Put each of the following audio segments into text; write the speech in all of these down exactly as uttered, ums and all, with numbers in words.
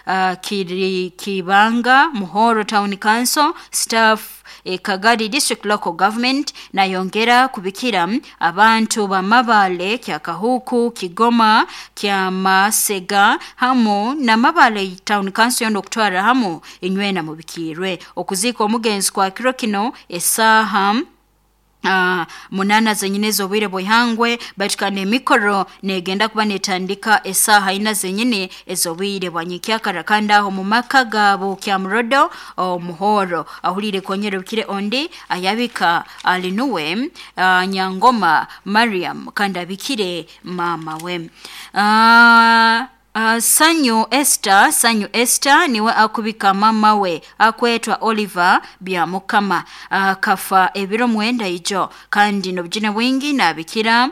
uh, Kiri, Kibanga Muhoro Town Council staff e, Kagadi District Local Government. Nayongera kubikira abantu ba Mabale, Kyakahuku, Kigoma, Kyamasega hamu na Mabale Town Council yono okutwara hamu inywena mubikirwe okuziika omugenzi kwa kiro kino esaaha Uh, munana zenyine z'obwire bw'ihangwe, baitu kandi emikoro negenda kuba netandika esaaha ina zenyine ez'obwire bwa nyikyakara, kandi aho mu maka gabo Kyamurodo Omuhoro. Ahulire konyera bukire ondi ayabika alinuwe uh, Nyangoma Mariam, kandi abikire mama we. uh, Uh, Sanyu Esther, Sanyu Esther niwe akubika mama we akwetwa Oliver Byamukama, uh, kafa ebiro mwenda ijo, kandi nobujine bwingi nabikira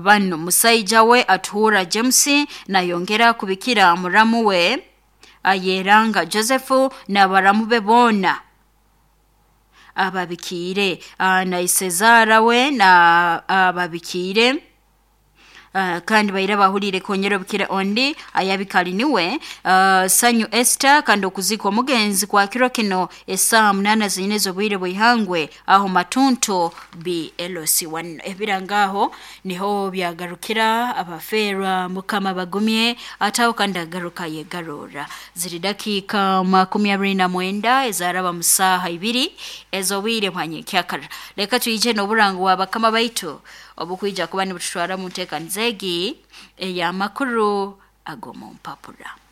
bano musaija we Atuhura James, nayongera kubikira muramu we Ayeranga Joseph n'abaramu be boona ababikiire, uh, na Isezara we na ababikiire. Uh, kandi baira bahulire konyera bukire ondi ayabikali niwe uh, Sanyu Esther, kandi okuzika omugenzi kwa kiro kino esaa munana zenyine z'obwire bw'ihangwe aho Matunto B L C one. Ebirangaho niho byagarukira. Abaferwa Mukama bagumye, ataho kandi agaruka yegarura. Ziri dakika makumi abiri na mwenda ezaraba mu saaha ibiri ez'obwire bwa nyekyakara. Reka tuyije n'oburango bwa bakama baitu obukwija kuba nibututwara mu nteekaniza egi ey'amakuru ag'omu mpapura.